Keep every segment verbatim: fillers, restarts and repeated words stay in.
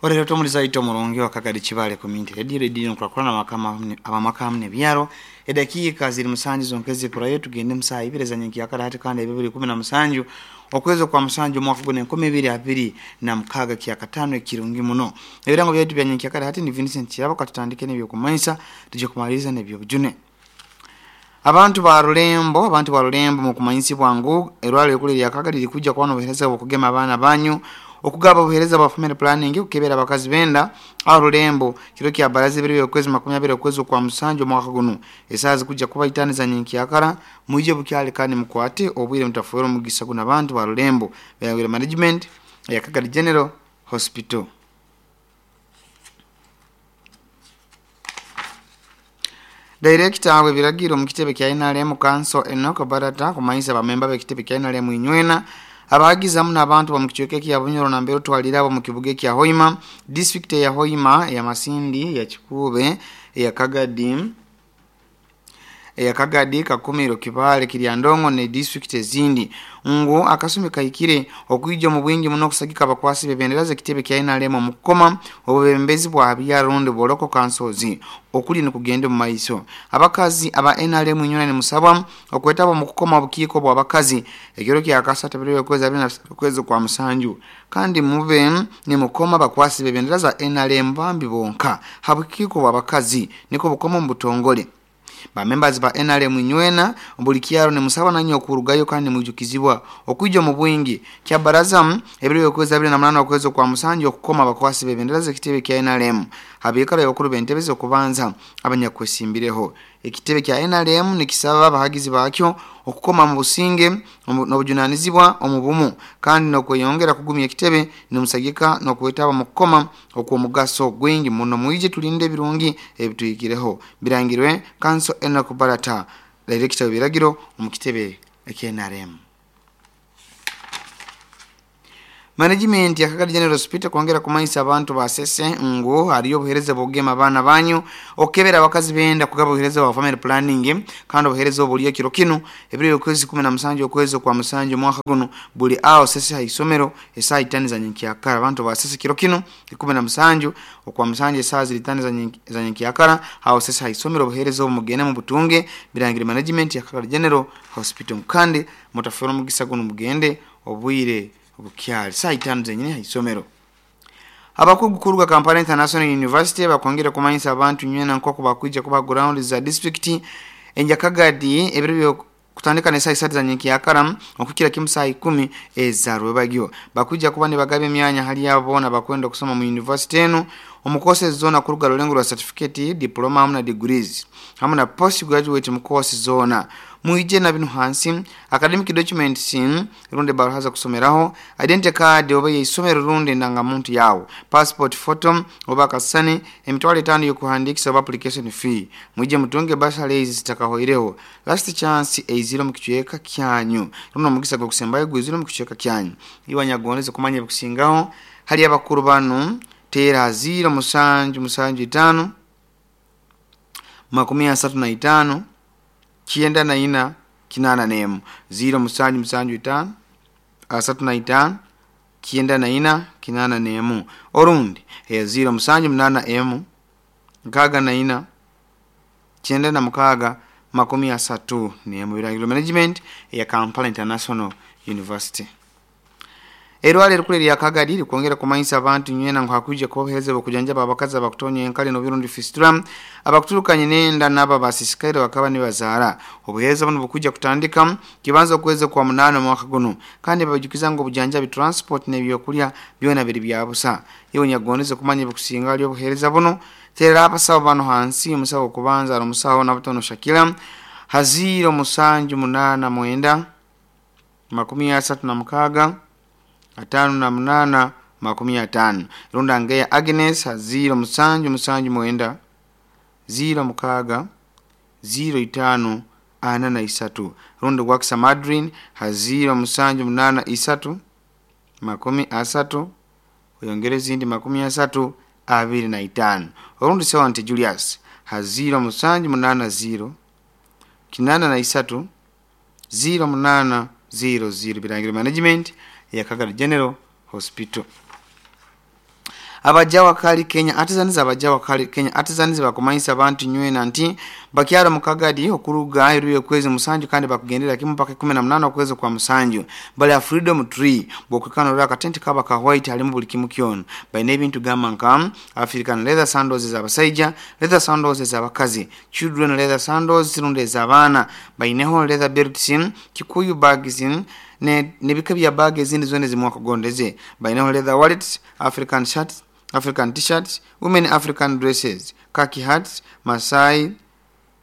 Orero tomuliza ito murungi wa Kagadi Kibale Community Radio Radio nkurakurana makama abamaka nebyaro edakika ziri musanju zonkezi kurayo tugende musaha ibiri za nyenki yakara hati kandi ebibiri kumi na musanju okwezi kwa musanju mwaka guno enkumi ibiri abiri na mukaga kya katano ekirungi muno. Ebirango byetu bya nyenki yakara hati ni Vincent Kirabo katutandike n'ebyokumanyisa tuje kumaliriza n'ebyobujune. Abantu ba Rulembo, abantu ba Rulembo mu kumanyisibwa ngu erwalo ekuli lya Kagadi likuja kuba n'obuheereza bw'okugema abaana banyu okugaba obuheereza bwa family planning okukebera abakazi benda aho Rulembo kiro kya baraza ebiri okwezi makumi abiri okwezi kwa musanju omwaka guno esaaha zikujja kuba itaano za nyenkyakara mwije bukyali kandi mukwate obwire mutafuera omugisa guno abantu ba Rulembo bayangire management ya Kagadi General Hospital. Director we biragiro mu kitebe kya N R M Council Enoch Barata kumanyisa bamemba b'ekitebe kya N R M inywena abagizamu n'abantu ba mu kichweka kya Bunyoro na Mbero twalira abo mu kibuga kya Hoima district ya Hoima ya Masindi ya Kikube ya Kagadi ya Kagadi Kakumiro Kibale Kiryandongo ne district ezindi ngo akasumi kaikire okwijja mu bwingi muno kusagika abakwasi bebendera zekitebe kya N R M mu kukoma obubembezi bwa byarundi boloko kansozi okuli nikugende mu maiso abakazi aba N R M inyona ni musabwa okwetaba mu kukoma obukiiko bwa bakazi ekiro kya kasata biri okwezi abiri na okwezi kwa musanju kandi mube ni mukoma abakwasi bebendera za N R M bambi bonka habukiiko bwa bakazi niko bukoma mu butongole. Ba members ba N R M inywena buli kyaro ne musaba nanyo okurugayo kandi mujukizibwa okwijja mu bwingi kya baraza ebiri okwezi abiri na munana okwezi kwa musanju okukoma abakwasi bebendera zekitebe kya N R M habikara y'abakuru b'entebe okubanza abanyakwesimbirireho ekitebe kya N R M nikisaba abahagizi bakyo okukoma mu businge n'obujunanizibwa omu bumu kandi n'okweyongera kugumya ekitebe nimusagika n'okwetaba mu kukoma okw'omugaso gwingi muno mwije tulinde ebirungi ebituyikireho birangirwe Council Enoch Barata director w'ebiragiro mu kitebe ekya N R M. Management ya Kagadi General Hospital kwongera kumanyisa abantu basese ngo hariyo obuheereza bw'okugema abaana banyu okukebera abakazi benda kugaba obuheereza bwa family planning kandi obuheereza obuliyo kiro kino ebiri okwezi kumi na musanju okwezi kwa musanju omwaka guno buli aho sese haisomero esaaha itaano za nyenkyakara abantu basese kiro kino ikumi na musanju okwa musanju esaaha ziri itaano za nyenkyakara aho sese haisomero obuheereza obumugende mu butunge birangire management ya Kagadi General Hospital kandi mutafera omugisa guno mugende obwire obukyali saa itaano zenyini haisomero. Abakugu kuruga Kampala International University bakwongera kumanyisa abantu nywena nk'oku bakwija kuba ground za district enjakagadi ebiro kutandika ne saa isatu za nyenkyakara okukira kimu saa ikumi eza rwebagyo bakwija kuba ne bagaba emyanya hali abo bona bakwenda okusoma mu university eno omu course zona kuruga rulengo rwa certificate diploma hamwe na degrees hamwe na postgraduate mu course zona muije na binu hansi academic documents runde baruhaza kusomeraho identity card oba yeisomero runde ndangamuntu yawo passport photo oba kasani emitwalo etaano yokuhandikisa oba application fee muije mutunge basale zitakahoireho last chance eiziro mu kichweka kyanyu runo mugisa gwo kusembayo gwiziro mu kichweka kyanyu iwanyagondeze kumanya bikusingaho hali abakuru banu tera ziro musanju musanju itano makumi asatu na itano kienda na ina kinana nemu ziro musanju musanju itano asatu na itano kienda na ina kinana nemu orundi e ziro musanju munana emu nkaga na ina kienda na mukaga makumi asatu nemu. Birangiro management ya Kampala International University. Erwale rukule lya Kagadi likwongera kumanyisa abantu nywena ngo hakuje kubohereza bokujanja abakazi abakutonya enkali no birundi fistula abakuturukanye nenda naba basisikaire bakaba nibazaara obuhereza buno bukuja kutandika kibanza okuweza kwa munana mwaka guno kandi babajukiza ngo obujanja bi transport n'ebyokulya byona biri byabusa iwe nyagondeze kumanya bikusinga ali obuhereza buno tera abasawo bano hansi omusawo okubanza ari omusawo nabutono Shakira haziro musanju munana mwenda makumi asatu na mukaga atano na munana makumi atano runda ngeya Agnes ziro musanju musanju mwenda ziro mukaga ziro itano ana na isatu runda gwakisa Madrin haziro musanju munana isatu makumi asatu oyongere zindi makumi asatu abiri na itano orundi sewa Julius haziro musanju munana ziro kinana na isatu ziro munana ziro ziro birangiro management ya Kagadi General Hospital. Abajawa Kali Kenya Artisans abajawa Kali Kenya Artisans bakumanyisa abantu nywena nti bakyara mukagadi okuruga eruye kwezi musanju kandi bakugendera kimu paka kumi na munana okwezi kwa musanju bali a Freedom Tree bokukana raka katenti kaba ka white halimu buli kimu kyona bayina ebintu gamba nka African leather sandals z'abasajja, leather sandals z'abakazi, children leather sandals rundi ez'abaana, bayineho leather belts, Kikuyu bags ne nebika bya bag ezindi zone zimwakugondeze, bayineho leather wallets, African shirts, African t-shirts, women African dresses, khaki hats, Masai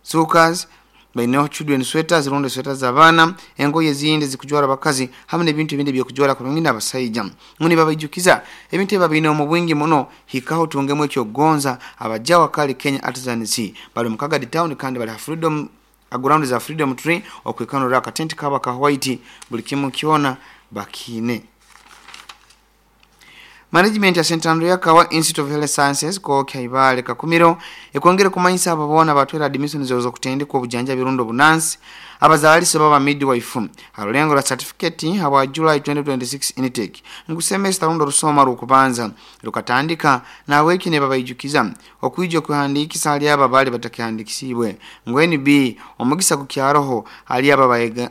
sukas, bayineho children sweaters rundi sweaters z'abaana, engoye ezindi zikujwara abakazi hamwe n'ebintu ebindi byokujwara kurungi n'abasajja. Nguni babayijukiza ebintu ebi babine omu bwingi muno hikaho tungemu ekyogonza. Abajawa Kali Kenya Artisans bali mu Kagadi town kandi bali ha Freedom ground za Freedom Tree okwikanura akatenti kaba ka white buli kimu kyona bakine. Management ya Saint Andrea Kawa Institute of Health Sciences ko Kaibale Kakumiro ekwongere kumanyisa abo bona batwera admission zozo kutendekwa obujanja birundo bunansi abazaalisa baba midwife alulengo la certificate hawa July twenty twenty-six intake ngu semester rundo rusoma rukubanza lukatandika na weki ne babayijukiza okwijja kuhandikisa ali aba bali batakihandikisibwe ngu N B omugisa ku kyaroho ali aba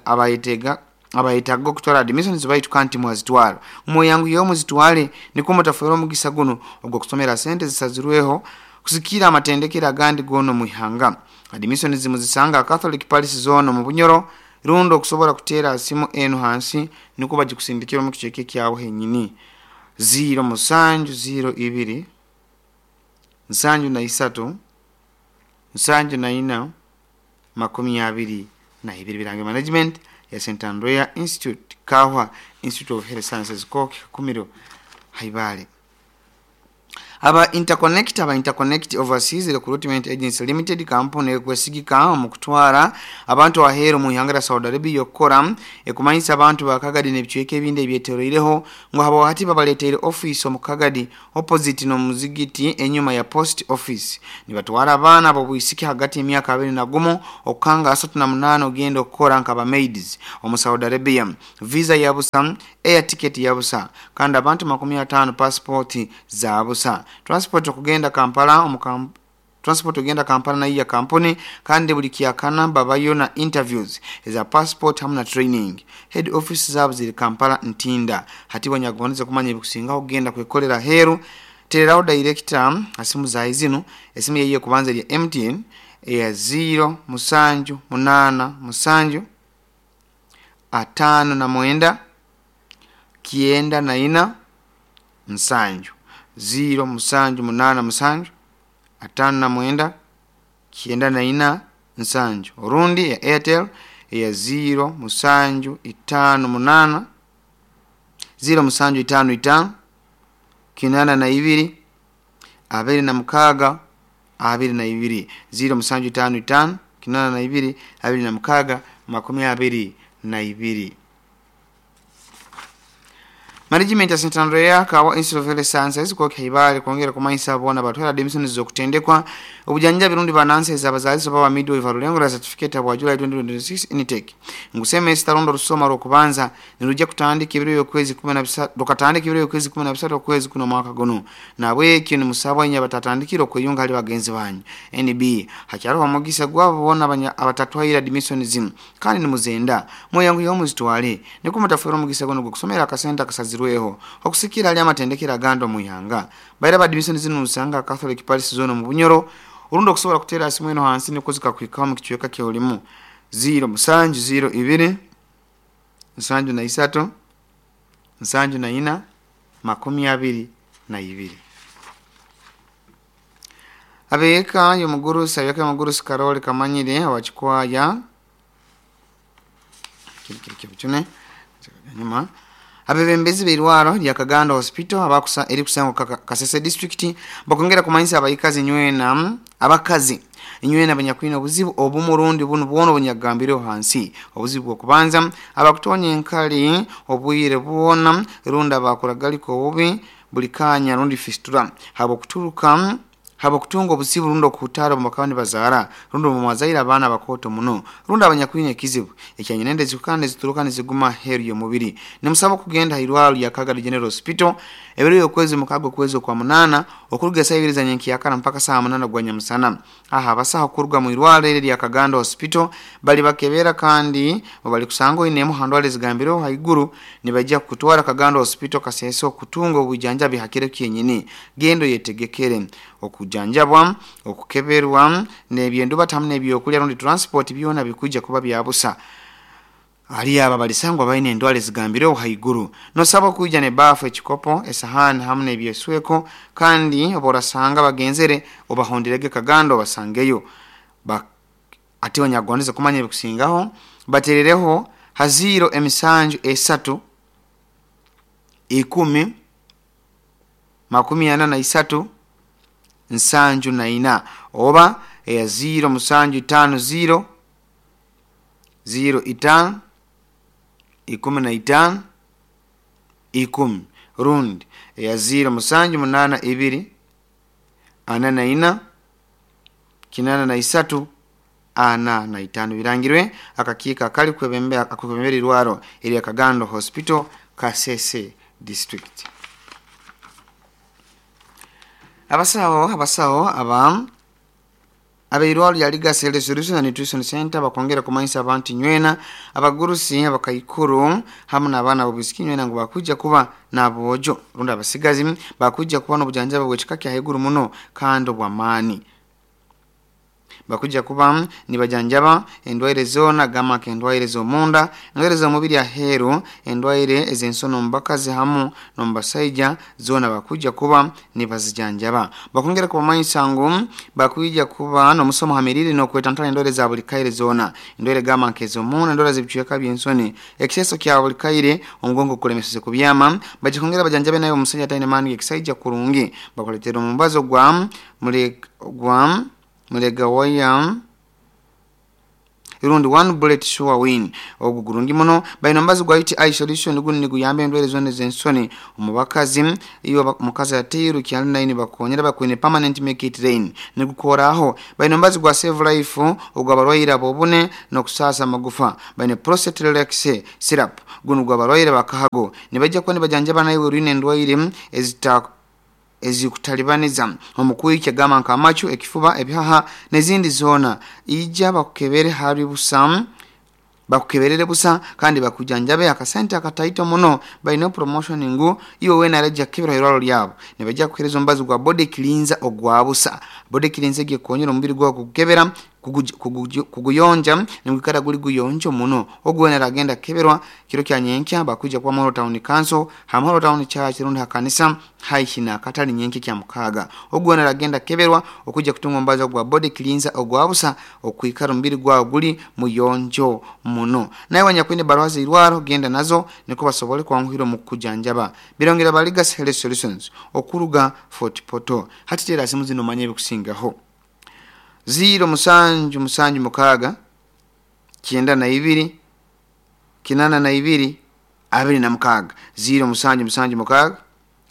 abayetega abayetaga okutwala admissions baitu kanti mwazitwala mwoyangu yomu zitwale niko mutafera omugisa guno ogwo kusomera sente zisazirweho kusikira amatendekera agandi gono muihanga. Admissions zimuzisanga Catholic Palace zone mu Bunyoro rundo okusobola kuteera simu eno hansi niko bagikusindikira mu kicheke kyawo henyini zero musanju zero ibiri nsanju na isatu nsanju na ina makumi abiri na ibiri. Birange management ya Saint Andrea Institute Kawa Institute of Health Sciences ko Kakumiro Haibale. Aba Interconnect aba Interconnect Overseas Recruitment Agency Limited company ekwesigika mu kutwara abantu ahero mu ihanga Saudi Arabia yokora ekumanyisa abantu bakagadi n'ebicweke ebindi ebyetoroireho ngo habo hati babaleteire office omu Kagadi opposite no muzigiti enyuma ya post office. Nibatwara abaana abo bwisiki hagati emyaka abiri na gumu okanga asatu na munana ogenda okukora nkaba maids omu Saudi Arabia. Visa ya busa, air ticket ya busa kandi abantu makumi atano passport za busa. Transport okugenda Kampala omu transport ogenda Kampala na iya kampuni kandi buli kyakana babayo na interviews eza passport hamna training. Head office zabo ziri Kampala Ntinda. Hati wanyagonze kumanya ebikusinga ogenda kwekolera heru tereraho director asimu za izinu esimu yeye kubanza ya M T N ya zero musanju munana musanju atano na mwenda kienda na ina nsanju zero musanju munana musanju atano na mwenda kienda na ina nsanju. Orundi ya Airtel ya zero musanju itano munana zero musanju itano itano kinana na ibiri abiri na mukaga abiri na ibiri zero musanju itano itano kinana na ibiri abiri na mukaga makumi abiri na ibiri. Management ya Saint Andrea Kawa Institute of Health Sciences kwa Kaibale kwongera kumanyisa bona batwala admissions zokutendekwa obujanja birundi bananse ez'abazaalisa baba midwife alulengo la certificate bwa July twenty twenty-six intake ngu semester rundo rusoma rwokubanza nirujja kutandika ebiro y'okwezi kumi na bisatu rukatandika ebiro y'okwezi kumi na bisatu okwezi kuno mwaka guno nabwekyo ni musabwa inya batatandikira okweyunga ali bagenzi banyu. N B hakyariho omugisa gwabo bona abatatwaire admissions kandi nimuzenda mwoyangu yomuzitwale niko mutafera omugisa guno gwokusomera akasente akasazirwe weho okusikira ali amatendekera gando muihanga. Baira ba admission zino usanga Catholic Palace zone mu Bunyoro urundo kusobola kutera asimu eno hansi niko zikakwikaho mu kichweka kyolimu zero musanju zero ibiri nsanju na isatu nsanju na ina makumi abiri na ibiri. Abeka yomugurusa yake mugurusa Karoli Kamanyire awachikwaya kiri kiri chune nyuma abebembezi beirwaro lya Kaganda Hospital abakusa eri kusango Kasese district bakongera kumanyisa abayikazi nywena abakazi nywena abanyakwina obuzibu obumurundi bunu bwono bunyagambiro hansi obuzibu okubanza abakutonya enkali obwire bwona runda bakuragaliko obubi buli kanya rundi fistula habo kuturuka Habwokutunga obuzibu rundi okuhutaara obu bakaba nibazaara, rundi obu mwazaire abaana abakooto muno, rundi abanyakwine ekizibu ekyanyinenda ezikukana nizituruka niziguma aheeru y'omubiri, nimusaba okugenda ha irwarro lya Kagadi General Hospital ebiro by'okwezi mukaaga okwezi okwa munaana, okuruga esaaha ibiri za nyenkyakara mpaka saaha munaana gwa nyamusana. Aha abasaho kuruga mu irwarro eri erya Kagando Hospital bali bakebera, kandi obu balikusanga oine emu ha ndwara ezigambireho haiguru, nibaija kukutwara Kagando Hospital Kasese okutunga obwijanjabi ha kiro kyenyini. Genda oyetegekere okujanjabwa, okukeberwa, n'ebyendubata hamu n'ebyokulya rundi transport byona bikwija kuba bya busa hali abo abalisangwa baine endwara ezigambireho haiguru. Nosaba okwija n'ebaafu, ekikopo, esahani hamu n'ebyesweko, kandi obu orasanga bagenzere obahonderege Kagando obasangeyo. Ba- ati onyakugondeze kumanya ebikusingaho, baterereho ha ziro emisanju esatu ikumi makumi ana na isatu nsanju na ina, oba eya ziro musanju itaano ziro ziro itaano ikumi na itaano ikumi, rundi eya ziro musanju munaana ibiri ana na ina kinaana na isatu ana na itaano. Birangirwe akakiiko akali kwebembera akwebembera irwarro erya Kagando Hospital, Kasese District. Abasaho abasaho aba abeirwarro lya Legacy Health Solution and Nutrition Center bakwongera kumanyisa abantu nywena, abagurusi, abakaikuru hamu n'abaana b'obwisiki nywena ngu bakwija kuba n'aboojo rundi abasigazi bakwija kuba n'obujanjabi bw'ekika kya haiguru muno kandi obw'amaani. Bakwija kuba nibajanjaba endwaire zoona, gamba nk'endwaire ez'omunda, endwaire ez'omubiri aheeru, endwaire ez'ensono omu bakazi hamu n'omu basaija, zoona bakwija kuba nibazijanjaba. Bakwongera kubamanyisa ngu bakwija kuba n'omusomo ha mirire n'okwetantara endwaire za buli kaire zoona, endwaire gamba nk'ez'omunda, endwaire z'ebicweka by'ensoni, ekiseeso kya buli kaire, omugongo gukulemeseze kubyama. Bajja kwongera bajanjabe nawe omusaija ataine maani g'ekisaija kurungi, bakuleetera omubazo gwa mule gwa mulegawaya rundi one bullet sure win, ogu gurungi muno. Baine omubazi gwa U T I solution, gunu niguyamba endwaire zoona ez'ensoni omu bakazi. Iyo omukazi ateirwe kyali nine bakonyera bakwine permanent make it rain, nigukoraho. Baine omubazi gwa save life ogw'abarwaire ab'obune n'okusaasa amagufa. Baine prostate relax syrup, gunu gw'abarwaire bakahago. Nibaija kuba nibajanjaba naiwe orwine endwaire ezita ezikutalibaniza omu kwikya, gamba nk'amacu, ekifuba, ebihaha n'ezindi zoona. Ija bakukebere hali busa, bakukeberere busa kandi bakujanjabe akasente akataito muno. Baine promotion ngu iwe wena arajja kukebera irwaro lyabo, nibajja kuhereza omubazi gwa body cleanser ogwa busa. Body cleanser egi ekonyera omubiri gwawe kugukebera, kuguyonja, nigwikara guli guyonjo muno. Ogu wena aragenda kukeberwa kiro kya nyenkya, bakwija kuba Muhoro Town Council ha Muhoro Town Church rundi ha kanisa haihi n'akatale nyenkya kya mukaaga. Ogu wena aragenda kukeberwa okujja kutunga omubazi ogwa body cleanser ogwa busa okwikara omubiri gwawe guli muyonjo muno. Nawe wanyakwine ebaruha z'irwaro, genda nazo nikwo basobole kwanguhira omu kukujanjaba. Birongera ba Legacy Health Solutions okuruga Fort Portal. Hati teera simu zino omanye ebikusingaho: ziro musanju musanju mukaaga kyenda na ibiri kinana na ibiri abiri na mukaaga, ziro musanju musanju mukaaga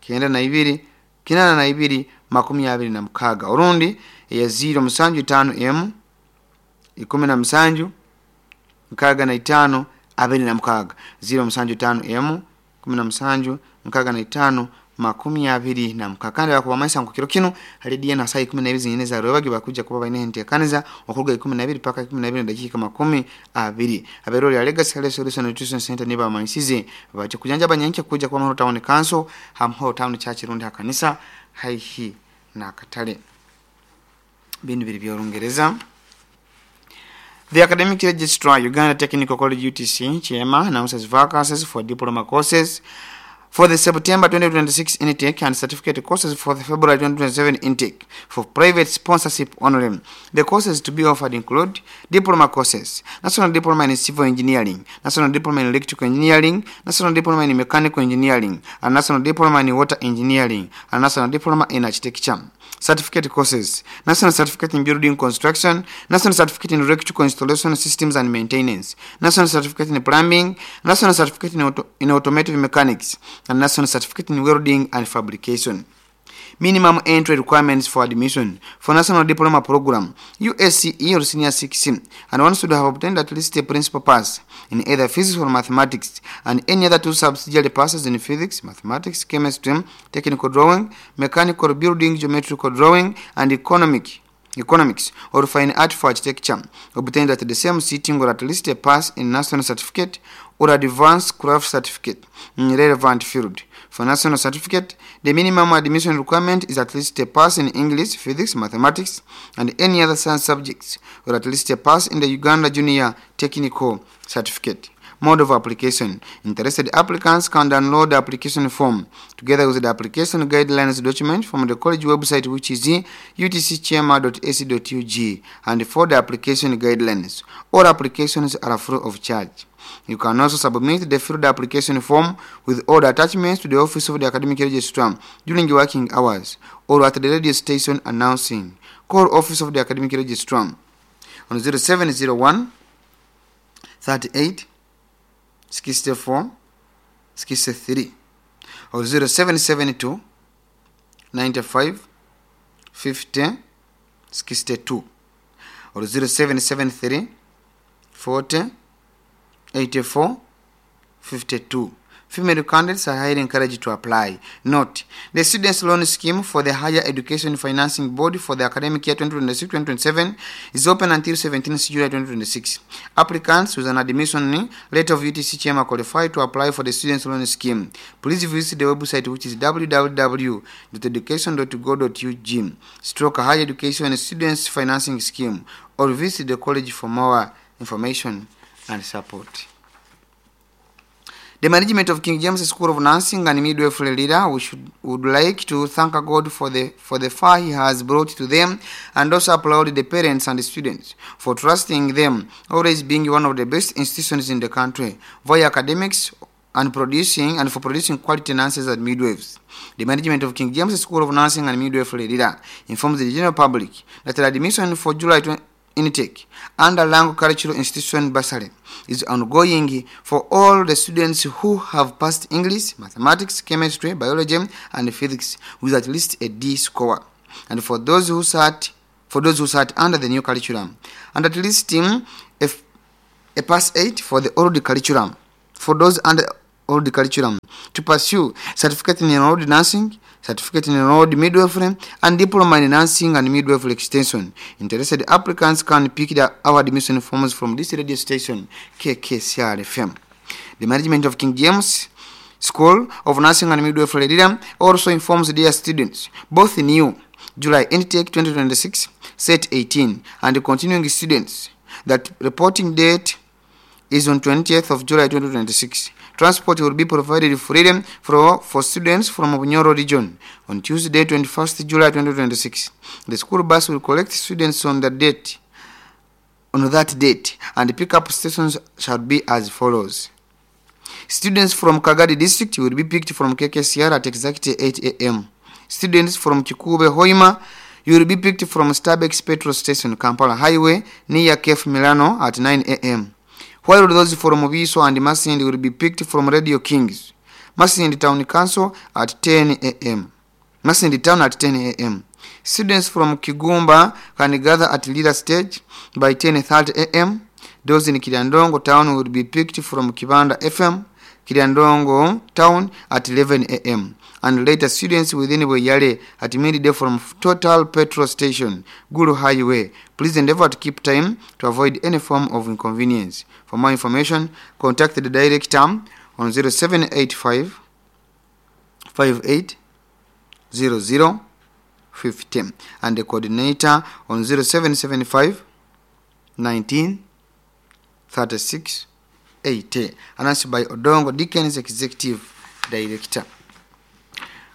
kyenda na ibiri kinana na ibiri makumi abiri na mukaaga, orundi eya ziro musanju itaano emu ikumi na musanju nkaaga na itaano abiri na mukaaga, ziro musanju itaano emu kumi na musanju nkaaga na itaano makumi abiri na mukaaga. Kandi bakubamanyisa ngu kiro kinu hali D N saa ikumi na ibiri zinyine za rwebagyo bakuja kuba baine enteekaniza okuruga ikumi na ibiri paka ikumi na ibiri na dakiika makumi abiri. Abeero lya Legacy Health Solution Nutrition Center nibo bamanyisize bajja kujanjaba nyenkya kuja kuba Muhoro Town Council ha Muhoro Town Church rundi ha kanisa haihi n'akatale. Binu biri by'Orungereza. The Academic Registrar, Uganda Technical College U T C, Kyema, announces vacancies for diploma courses for the September twenty twenty-six intake and certificate courses for the February twenty twenty-seven intake for private sponsorship only. The courses to be offered include diploma courses, National Diploma in Civil Engineering, National Diploma in Electrical Engineering, National Diploma in Mechanical Engineering, and National Diploma in Water Engineering, and National Diploma in Architecture. Certificate courses, National Certificate in Building Construction, National Certificate in Electrical Installation Systems and Maintenance, National Certificate in Plumbing, National Certificate in, Auto in Automotive Mechanics, and National Certificate in Welding and Fabrication. Minimum entry requirements for admission for National Diploma Program, U S C E or Senior six, and one should have obtained at least a principal pass in either physics or mathematics and any other two subsidiary passes in physics, mathematics, chemistry, technical drawing, mechanical building, geometrical drawing, and economic economics or fine art for architecture obtained at the same sitting, or at least a pass in national certificate or advanced craft certificate in relevant field. For national certificate, the minimum admission requirement is at least a pass in English, physics, mathematics, and any other science subjects, or at least a pass in the Uganda Junior Technical Certificate. Mode of application. Interested applicants can download the application form together with the application guidelines document from the college website, which is U T C kyema dot A C dot U G, and for the application guidelines. All applications are free of charge. You can also submit the filled application form with all the attachments to the office of the academic registrar during working hours or at the radio station announcing. Call office of the academic registrar on zero seven zero one thirty-eight sixty-four sixty-three or zero seven seven two ninety-five fifty sixty-two or zero seven seven three forty eighty-four fifty-two. Female candidates are highly encouraged to apply. Note, the Students' Loan Scheme for the Higher Education Financing Board for the academic year twenty twenty-six twenty twenty-seven is open until seventeenth July twenty twenty-six. Applicants with an admission letter of U T C Kyema qualify to apply for the Students' Loan Scheme. Please visit the website, which is w w w dot education dot go dot U G stroke higher education students financing scheme, or visit the college for more information and support. The management of King James School of Nursing and Midwifery Lira, we should, would like to thank God for the, for the far He has brought to them and also applaud the parents and the students for trusting them, always being one of the best institutions in the country via academics and producing and for producing quality nurses and midwives. The management of King James School of Nursing and Midwifery Lira informs the general public that the admission for July twenty intake under Lango Cultural Institution Bursary is ongoing for all the students who have passed English, mathematics, chemistry, biology, and physics with at least a D score. And for those who sat for those who sat under the new curriculum, and at least um, a, a pass eight for the old curriculum. For those under old curriculum to pursue certificate in enrolled nursing, certificate in enrolled midwifery, and diploma in nursing and midwifery extension. Interested applicants can pick the, our admission forms from this radio station, K K C R F M. The management of King James School of Nursing and Midwifery Lira also informs their students, both new July intake twenty twenty-six, set eighteen, and continuing students, that reporting date is on twentieth of July twenty twenty-six. Transport will be provided freely for, for students from Bunyoro region on Tuesday, twenty-first July twenty twenty-six. The school bus will collect students on the date on that date, and pickup stations shall be as follows. Students from Kagadi district will be picked from K K C R at exactly eight a m. Students from Kikuube Hoima, you will be picked from Stabex petrol station, Kampala Highway, near Kef Milano at nine a m. While those from Biso and Masindi will be picked from Radio Kings, Masindi Town Council at ten a m. Masindi Town at ten a m. Students from Kigumba can gather at Lira Stage by ten thirty a m. Those in Kiryandongo Town will be picked from Kibanda F M, Kiryandongo Town at eleven a m. And later, students within Bweyale at midday from Total Petrol Station, Gulu Highway. Please endeavor to keep time to avoid any form of inconvenience. For more information, contact the director on zero seven eight five fifty-eight zero zero fifty and the coordinator on zero seven seven five nineteen thirty-six eighty. Announced by Odongo Dickens, Executive Director.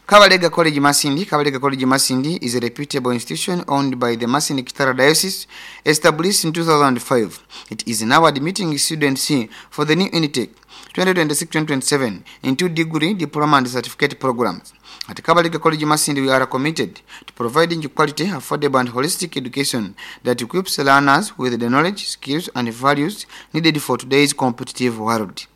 Kabalega College Masindi. Kabalega College Masindi is a reputable institution owned by the Masindi Kitara Diocese, established in two thousand five. It is now admitting students for the new intake twenty twenty-six twenty twenty-seven in two degree, diploma and certificate programs. At Kabalega College Masindi, we are committed to providing quality, affordable and holistic education that equips learners with the knowledge, skills and values needed for today's competitive world.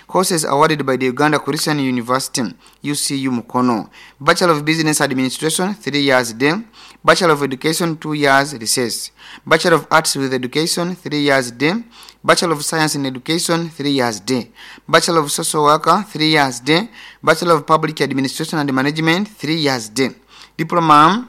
Courses awarded by the Uganda Christian University, U C U Mukono. Bachelor of Business Administration, three years day. Bachelor of Education, two years recess. Bachelor of Arts with Education, three years day. Bachelor of Science in Education, three years day. Bachelor of Social Worker, three years day. Bachelor of Public Administration and Management, three years day. Diploma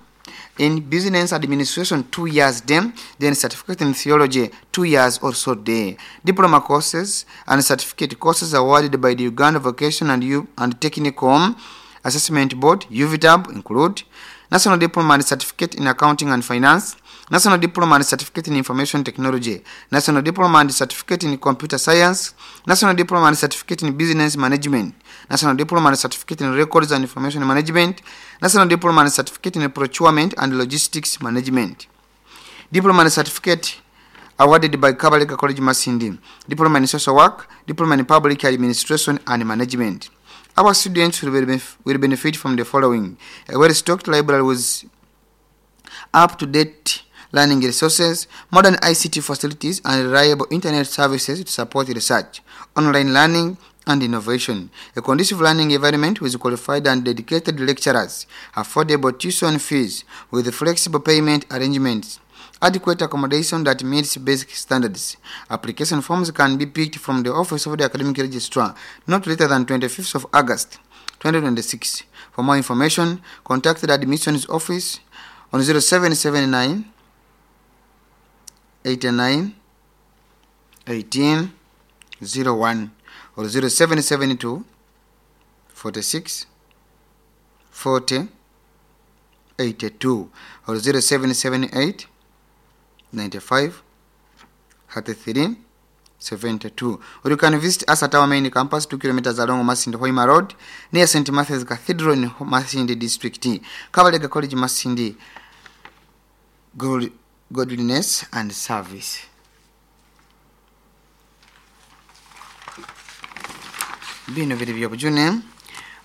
in Business Administration, two years day. Then Certificate in Theology, two years also day. Diploma courses and certificate courses awarded by the Uganda Vocation and, U and Technical Assessment Board, U V T A B, include National Diploma and Certificate in Accounting and Finance, National Diploma and Certificate in Information Technology, National Diploma and Certificate in Computer Science, National Diploma and Certificate in Business Management, National Diploma and Certificate in Records and Information Management, National Diploma and Certificate in Procurement and Logistics Management. Diploma and Certificate awarded by Kabalega College Masindi, Diploma in Social Work, Diploma in Public Administration and Management. Our students will benef-, will benefit from the following: a well-stocked library with up-to-date learning resources, modern I C T facilities, and reliable internet services to support research, online learning, and innovation. A conducive learning environment with qualified and dedicated lecturers, affordable tuition fees with flexible payment arrangements, adequate accommodation that meets basic standards. Application forms can be picked from the office of the academic registrar not later than twenty-fifth of August twenty twenty-six. For more information, contact the admissions office on zero seven seven nine eighty-nine eighteen zero one or zero seven seven two forty-six forty eighty-two or zero seven seven eight ninety-five thirty-three seventy-two. Or you can visit us at our main campus, two kilometers along Masindi Hoima Road, near Saint Matthew's Cathedral in Masindi District. Kabalega College Masindi, God, godliness and service. Bino vili byobujune.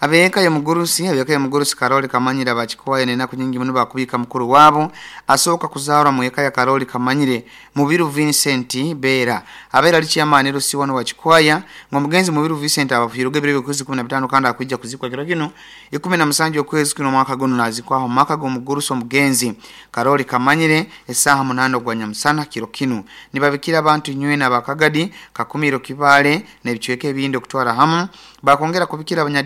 Abeka ya mugurusi, abeka ya mugurusi Karoli Kamanyire abachikoa ene naku nyingi muno bakubika mukuru wabo asooka kuzaarwa mu eka ya Karoli Kamanyire Mubiru Vincent Bera. Abera lichi amani rusi wano wachikwaya ngo mugenzi Mubiru Vincent abafiruge birebe kwezi kumi na bitano kandi akwijja kuzikwa kiro kino ikumi na musanju okwezi kuno mwaka guno nazikwaho mwaka go mugurusi omugenzi Karoli Kamanyire esaha munano gwa nyamusana kiro kino nibabikira abantu nywe na bakagadi kakumiro kibale n'ebicweke ebindi okutwara hamu bakongera kubikira abanyadini.